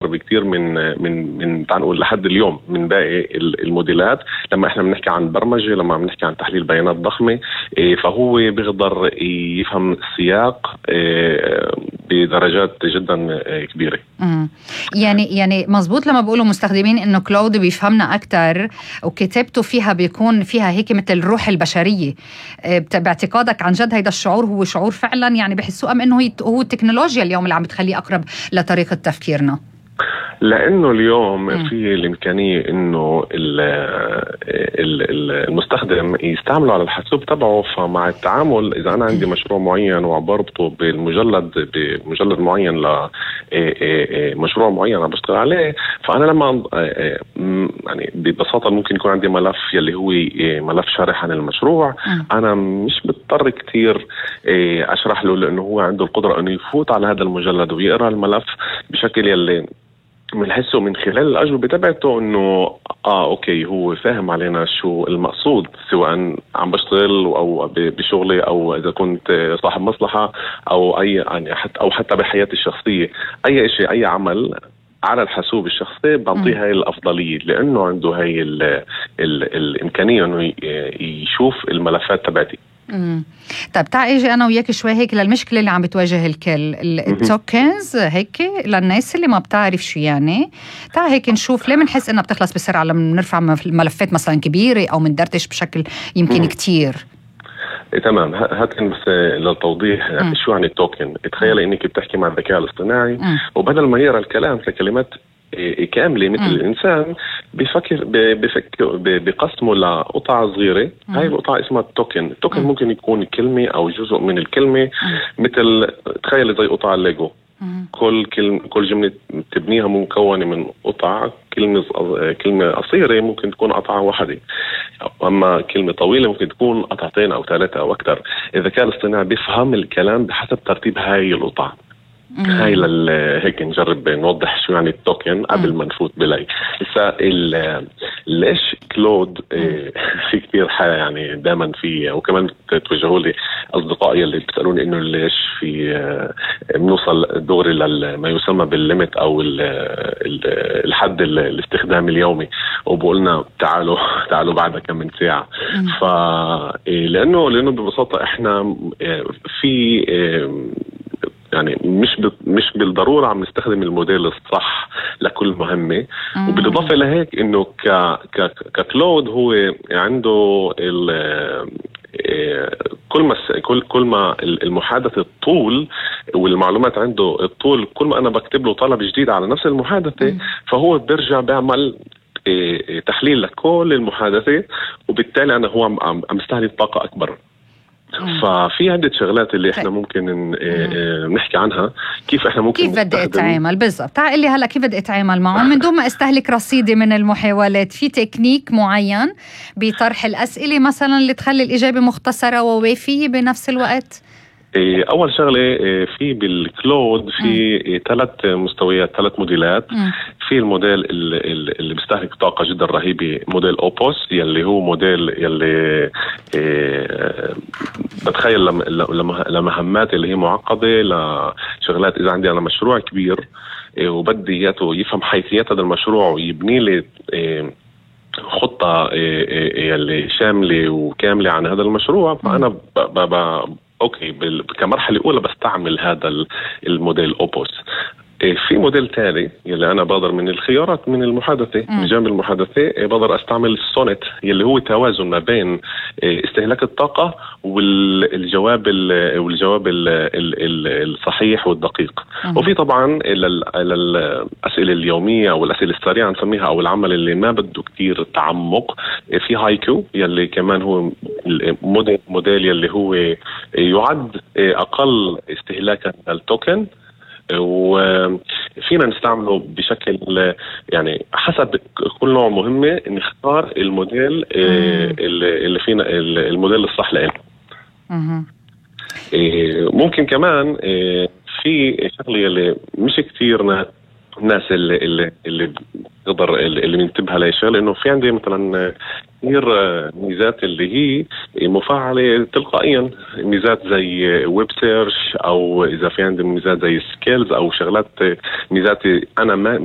بكتير من تعال نقول لحد اليوم من باقي الموديلات. لما احنا بنحكي عن برمجة، لما بنحكي عن تحليل بيانات ضخمة، فهو بيقدر يفهم السياق بدرجات جدا كبيرة. يعني مزبوط لما بقولوا مستخدمين انه كلاود بيفهمنا اكتر وكتابته فيها بيكون فيها هيك مثل الروح البشرية. باعتقادك عن جد هيدا الشعور هو شعور فعلا يعني بحسوه، ام انه هو التكنولوجيا اليوم اللي عم بتخليه اقرب لطريقة تفكيرنا؟ لأنه اليوم في الإمكانية إنه المستخدم يستعمله على الحاسوب تبعه. فمع التعامل إذا أنا عندي مشروع معين وبربطه بمجلد معين لمشروع معين أنا بشتغل عليه، فأنا لما يعني ببساطة ممكن يكون عندي ملف يلي هو ملف شارح عن المشروع، أنا مش بضطر كتير أشرح له، لأنه هو عنده القدرة أنه يفوت على هذا المجلد ويقرأ الملف بشكل يلي بنحسه من خلال الأجوبة تبعته إنه أوكي هو فاهم علينا شو المقصود، سواء عم بشتغل أو بشغلي أو إذا كنت صاحب مصلحة أو أي يعني حتى بحياتي الشخصية. أي شيء أي عمل على الحاسوب الشخصي بعطيه هاي الأفضلية، لأنه عنده هاي الإمكانية إنه يشوف الملفات تبعتي. طيب تعال اجي انا وياك شوي هيك للمشكله اللي عم بتواجه الكل، التوكنز هيك للناس اللي ما بتعرف شو يعني. تعال هيك نشوف ليه بنحس انها بتخلص بسرعه لما نرفع ملفات مثلا كبيره او مندرتش بشكل يمكن كتير. تمام. هات بس للتوضيح شو يعني التوكن. تخيل انك بتحكي مع الذكاء الاصطناعي وبدل ما يقرا الكلام ككلمات كاملة مثل الإنسان بفكر بقسمه لقطع صغيرة. هاي القطعة اسمها التوكن. التوكن ممكن يكون كلمة أو جزء من الكلمة، مثل تخيل زي قطع الليجو. كل جملة تبنيها مكونة من قطع. كلمة قصيرة ممكن تكون قطعة واحدة، أما كلمة طويلة ممكن تكون قطعتين أو ثلاثة أو أكثر. الذكاء الاصطناعي بيفهم الكلام بحسب ترتيب هاي القطع. هاي هيك نجرب نوضح شو يعني التوكن قبل ما نفوت بلاي. ليش كلود في كتير يعني دائما في، وكمان توجهوا لي أصدقائي اللي بيسألوني إنه ليش في بنوصل دوري لما يسمى بالليمت أو الحد الاستخدام اليومي، وبقولنا تعالوا بعد كم من ساعة. لأنه ببساطة إحنا في يعني مش بالضرورة عم نستخدم الموديل الصح لكل مهمة. وبالإضافة لهيك إنه ككلود هو عنده كل ما المحادثة الطول والمعلومات عنده الطول، كل ما أنا بكتب له طلب جديد على نفس المحادثة فهو بيرجع بيعمل تحليل لكل المحادثة، وبالتالي أنا هو عم استهلك طاقة أكبر. ففي عدة شغلات اللي احنا ممكن نحكي عنها، كيف احنا ممكن كيف بدي اتعامل بالضبط. تعال لي هلا كيف بدي اتعامل معهم من دون ما استهلك رصيدي من المحاولات. في تكنيك معين بطرح الأسئلة مثلا اللي تخلي الإجابة مختصرة ووافية بنفس الوقت؟ أول شغلة في بالكلود في 3 مستويات، 3 موديلات. في الموديل اللي بيستهلك طاقة جدا رهيبة، موديل أوبوس، يلي هو موديل يلي بتخيل لمهمات اللي هي معقدة، لشغلات إذا عندي أنا مشروع كبير وبدي إياته يفهم حيثيات هذا المشروع ويبني لي خطة يلي شاملة وكاملة عن هذا المشروع. فأنا اوكي كمرحله اولى بستعمل هذا الموديل اوبوس. في موديل تالي يلي انا بقدر من الخيارات من المحادثه، من جانب المحادثه بقدر استعمل السونيت يلي هو توازن ما بين استهلاك الطاقه والجواب الصحيح والدقيق. وفي طبعا الاسئله اليوميه او الاسئله السريعه نسميها، او العمل اللي ما بده كتير تعمق، في هايكو يلي كمان هو موديل يلي هو يعد اقل استهلاكا للتوكن، وفينا نستعمله بشكل يعني حسب كل نوع مهمة نختار الموديل اللي فينا الموديل الصح لنا. ممكن كمان في شغلة اللي مش كتير الناس اللي بتقدر اللي بننتبه لها شغله، انه في عندي مثلا كثير ميزات اللي هي مفعله تلقائيا، ميزات زي ويب سيرش، او اذا في عندي ميزات زي سكيلز او شغلات ميزات انا مش